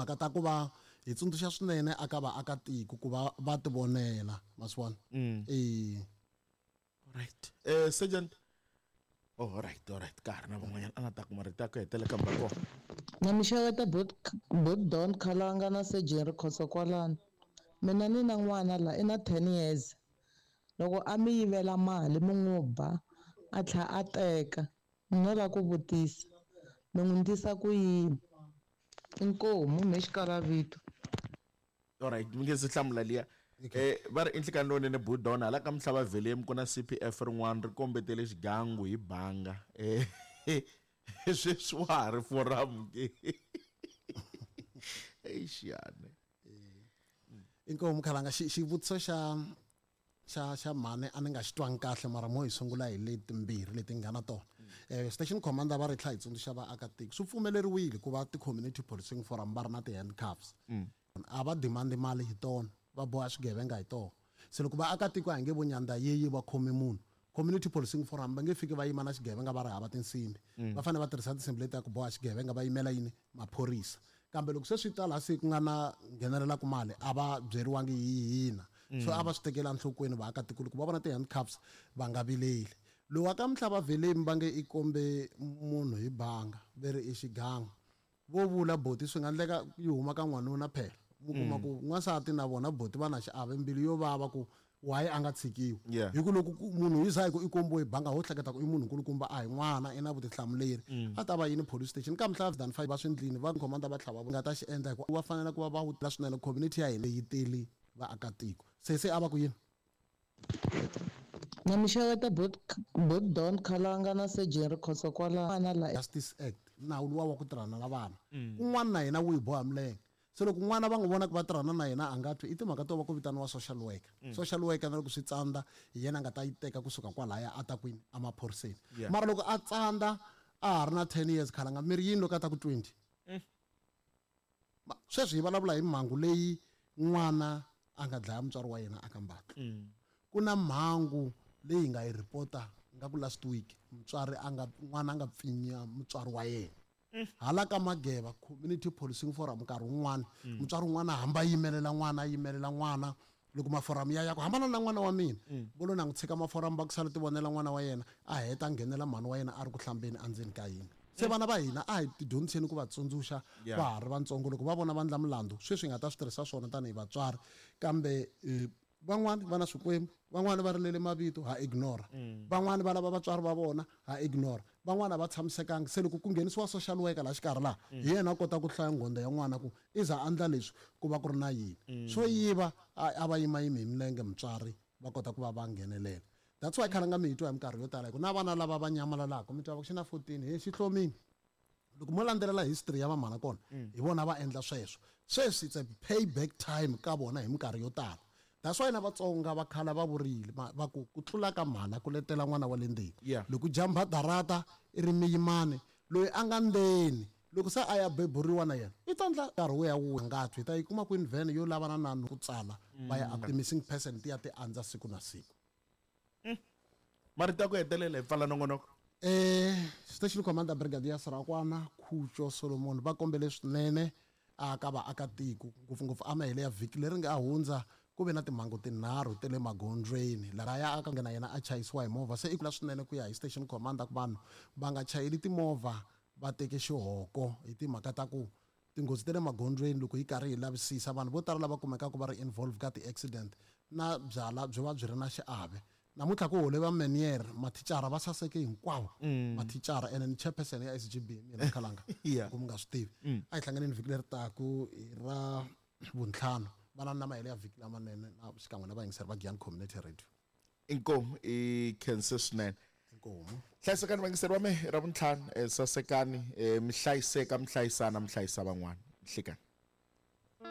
timhaka ta ku va hi tsundzuxa swinene aka vaakatiko ku va va tivonela ma swi vona e Right. Sergeant. Oh, all right, all right. Ka ha ri na van'wanyana a nga ta kuma rito ya ku hetelela kambe va kona. Na mi xeweta bot bot Don Khalanga na Surgeon Rikhotso kwalano. Mina ni na n'wana la i na 10 years. Loko a mi yivela mali mi n'wi ba a tlha a teka ni no lava ku vutisa mi n'wi ndlisa ku yini? Inkomu mhe xikalavito. Alright, mi nge se hlamula liya. Eh va ri i nhlikani lowunene Budon hala ka Mhlava Velem ku na CPF rin'wana ri kombetele xigangu hi banga. Eh sweswi wa ha ri forum ke. Eish yani. Inkomu Khalanga xi xivutiso xa xa xa mhani a ni nga xi twangi kahle mara mo hi sungula hi leti timbirhi leti nga na tona um station commander va ri tlha hi tsundzuxa vaakatiko swi pfumeleriwile ku va ti-community policing forum va ri na ti-handcuffs a va demand mali hi tona va boha swigevenga hi tona se loko vaakatiko a hi nge vo nyandza yeyi va khome munhu community policing forum va nge fiki va yima na xigevenga va ri hava tinsimbi va fanele va tirhisa tinsimbi leti ta ku boha xigevenga va yimela yini maphorisa kambe loko se swi ta laha se ku nga na nghenelelaku mali a va byeriwangi hi hina so a va swi tekela enhlokweni vaakatiko loko va vona ti-handcuffs va nga vileli lowa ka mhlava velemi va nge i kombe munhu hi banga ve ri i xigangu vo vula boti swi nga endleka yi huma ka n'wanuna phela mi kuma ku n'wansati na vona boti va na xiave mbilu yo vava ku why a nga tshikiwi Yeah. hi ku loko munhu yi za hi ku i kombiwe hi banga ho hleketa ku i munhu nkulukumba a hi n'wana i na vutihlamuleri a ta va yini police station kambe mhla than five va swi ndlini va commander va tlhava nga ta xi endla hi ku va fanele ku va va wutla swinene community ya hina yi tele vaakatiko se se a va ku yini Na mi xeweta bot bot Don Khalanga na Surgeon Rikhotso kwala la Justice Act nawu luwa wa ku tirhana na vana kun'wana na yena wu hi boha milenge se loko n'wana va n'wi vona ku va tirhana na yena a nga twi i timhaka to va ku vitaniwa social worker social worker na loko swi tsandza hi yena a nga ta yi teka kusuka kwalaya a ta kwini emaphoriseni Yeah. mara loko a tsandza a ha ri na 10 years khalanga mi ri yini loko a ta ku 20 sweswi hi vulavula hi mhangu leyi n'wana a nga dlaya mutswari wa yena aka mbatlo ku na mhangu leyi hi nga yi report-a nga ku last week mutswari a nga n'wana a nga pfinya mutswari wa yena hala ka mageva community policing forum nkarhi wun'wana mutswari wun'wana a hamba a yimelela n'wana a yimelela n'wana loko maforamu ya ya ku hambana na n'wana wa mina vo lo na n'wi tshika maforamu va ku sala ti vonela n'wana wa yena a heta a nghenela mhani wa yena a ri ku hlambeni endzeni ka yindlu se vana va hina a hi tidyondziseni ku va tsundzuxa Yeah. va ha ri vantsongo loko va vona va ndla milandzu sweswi hi nga ta swi tirhisa swona tanihi vatswari kambe van'wani va na swikwembu van'wani va rilele mavito ha ignore van'wani va lava vatswari va vona ha ignore van'wani a va tshamisekangi se loko ku nghenisiwa social worker laha xikarhi laha hi yena a kota ku hlaya nghondo ya n'wana ku i za a endla leswi ku va ku ri na yini swo yiva a va yimayimi hi milenge mutswari va kota ku va va nghenelela that's why khalanga mi hi twa hi minkarhi yo tala hi ku na vana lava va nyamalalaka mi twa va ku xi na 14 he xi hlomile loko mo landzelela history ya vamhana kona hi vona va endla sweswo sweswi it's a payback time ka vona hi minkarhi yo tala that's why na vatsonga va khala va vurile va ku ku tlula ka mhana ku letela n'wana wa le ndzeni Yeah. loko jamba darata i ri miyimani loyi a nga ndzeni loko se a ya beburiwa na yena i ta ndla nkarhi wu ya wu nga twi hi ta yi kuma kwini vhene yo lavana na ku tsala va ya ti-missing person ti ya ti andza siku na siku Marito ya ku hetelela hi pfala nongonoko. Station Commander Brigadier Sarakwana Khutjo Solomon va kombele swinene a ka vaakatiko ngopfungopfu a mahele ya vhiki leri nga hundza ku ve na timhangu tinharhu ta le magondzweni lahaya a ka na yena a chayisiwa hi movha se i kula swinene ku ya hi station commander ku vanhu va nga chayeli timovha va teke xihoko hi timhaka ta ku tinghozi ta le magondzweni loko hi karhi hi lavisisa vanhu vo tala lava kumekaka va ri involved ka ti-accident na byala byi va byi ri na xiave namuntlha ku hole va manier mathicara va saseke hinkwavo mathicara ene ni chairperson ya SGB mina khalanga Yeah. ku mi nga swi tivi a hi hlanganeni vhiki leri taku hi ra vuntlhanu vana na mahelo ya vhiki lamanene na xikan'we na vayingiseri va Giyani Community Radio Inkomu i khense swinene inkomu hlayisekani vayingiseri va mehe ra vuntlhanu sasekani mi hlayiseka mi hlayisana mi hlayisa van'wana nhlikani.